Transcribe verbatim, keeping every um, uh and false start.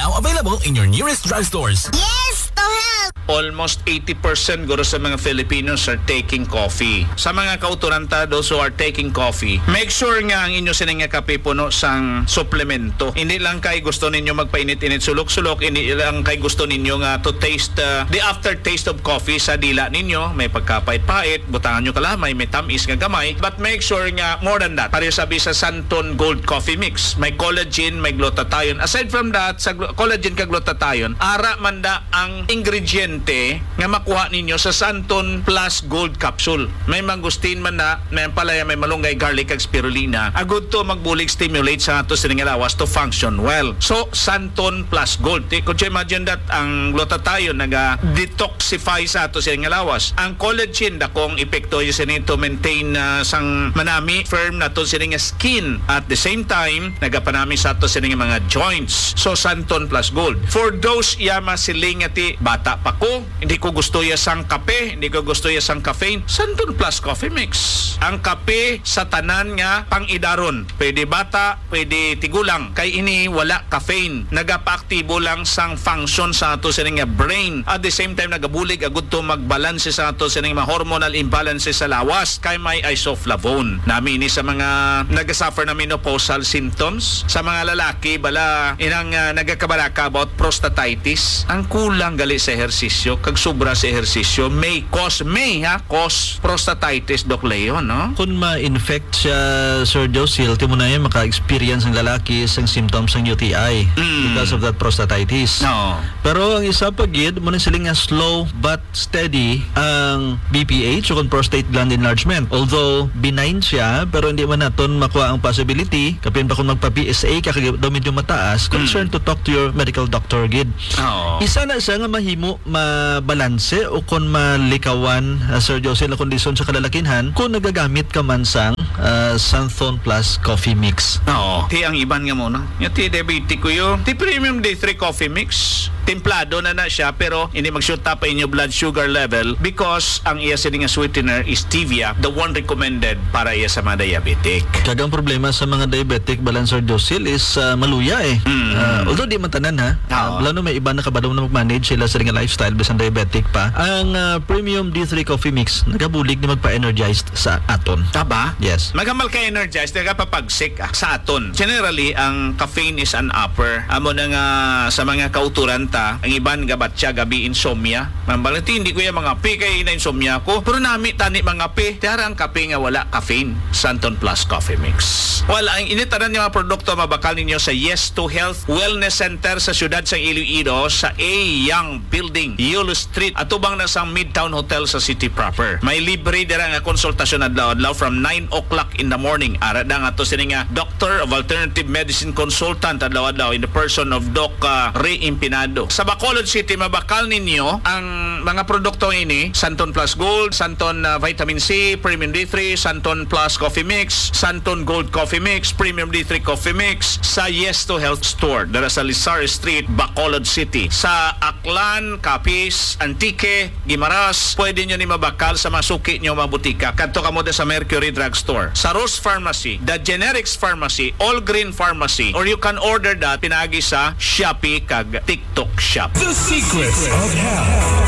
Now available in your nearest drugstores. Yes to help! Almost eighty percent guro sa mga Filipinos are taking coffee. Sa mga kauturan ta, those who are taking coffee, make sure nga ang inyo sini nga kape puno sang suplemento. Hindi lang kay gusto ninyo magpainit-init sulok-sulok, hindi lang kay gusto ninyo nga to taste, uh, the aftertaste of coffee sa dila ninyo. May pagkapait-pait, butangan nyo kalamay, may tamis nga gamay. But make sure nga more than that. Pareho sabi sa Santon Gold Coffee Mix, may collagen, may glutathione. Aside from that, sa glu- collagen kag glutathione, ara man da ang ingrediente nga makuha ninyo sa Santon Plus Gold Capsule. May mangosteen man na, may ampalaya, may malunggay, garlic, kag spirulina. Agud to magbulig stimulate sa ato sining lawas to function well. So, Santon Plus Gold. Ti-, could you imagine that ang glutathione naga-detoxify sa ato sining lawas? Ang collagen, dakong epekto yun sini to maintain, ah, sang manami, firm nato sini nga skin. At the same time, nagapanami sa ato sini nga mga joints. So, Santon Plus Gold. For those iya masiling nga ti, "Bata pa ko, hindi ko gusto iya sang kape, hindi ko gusto iya sang caffeine," Santon Plus Coffee Mix. Ang kape sa tanan nga pang-idaron. Pwede bata, pwede tigulang. Kay ini wala caffeine. Nagapaaktibo lang sang function sa ato sini nga brain. At the same time, nagabulig agud to magbalanse sa ato sini nga hormonal imbalances sa lawas. Kay may isoflavone. Nami ini sa mga nagasuffer na menopausal symptoms. Sa mga lalaki, bala, inang, ah, nagakabalaka about prostatitis. Ang kulang gali sa ehersisyo, kag sobra sa ehersisyo, may cause, may, ha, cause prostatitis, Doc Leo, no? Kung ma-infect siya, Sir Josil, ti mo na yan maka-experience ang lalaki sang symptoms sang U T I Mm. because of that prostatitis. No. Pero ang isa pa gid, mo na sila nga slow but steady ang B P H o kung prostate gland enlargement. Although benign siya, pero hindi man naton makuha ang possibility, kapin pa kung magpa-P S A ka, kag daw medyo mataas, concern Mm. to talk to your medical doctor gid. Oo. Isa na siya nga mahimo mabalanse o kon malikawan, ah, Sir Josil, ang kondisyon sa kalalakinhan kung nagagamit ka man sang, ah, Santhon Plus Coffee Mix. Oo. Ti ang iban nga mo na. Yung ti diabetic ko yun. Ti Premium D three Coffee Mix. Templado na na siya, pero hindi magsyuta pa inyo blood sugar level because ang iya sini nga sweetener is stevia, the one recommended para iya sa mga diabetic. Kag ang problema sa mga diabetic, balan, Sir Josil, is, ah, maluya eh. Mm. Ah, although di man tanan, ha. Ah, Oo. Lalo may iba nakabalo na mag-manage sila sa nga lifestyle bisan diabetic pa. Ang, ah, Premium D three Coffee Mix nagabulig ni magpa-energized sa aton. Taba? Yes. Magamal ka energized, nagapapagsik, ah, sa aton. Generally, ang caffeine is an upper. Amo na nga sa mga kauturan ta, ang iban gabatya gabi insomnia. Mambal, "Ti, hindi ko yung mga kape kay na insomnia ko." Pero nami tani mga kape. Tiara ang kape nga wala caffeine. Santon Plus Coffee Mix. Well, ang ini tanan nga mga produkto mabakal ninyo sa Yes to Health Wellness Center sa siyudad sa Iloilo sa A Young Building, Yulo Street, atubang na sa Midtown Hotel sa city proper. May libre dira nga konsultasyon adlaw-adlaw from nine o'clock in the morning. Ara da nga to sini nga Doctor of Alternative Medicine Consultant adlaw-adlaw in the person of Doc, ah, Ray Impinado. Sa Bacolod City, mabakal ninyo ang mga produkto ini, Santon Plus Gold, Santon, ah, Vitamin C, Premium D three, Santon Plus Coffee Mix, Santon Gold Coffee Mix, Premium D three Coffee Mix, sa Yes to Health Store, dala sa Lizar Street, Bacolod City. Sa Aklan, Capiz, Antique, Guimaras, pwede nyo ni mabakal sa mga suki nyo, mga butika. Kadto kamo da sa Mercury Drugstore, sa Rose Pharmacy, The Generics Pharmacy, All Green Pharmacy, or you can order that pinagi sa Shopee kag TikTok Shop. The Secrets of Health.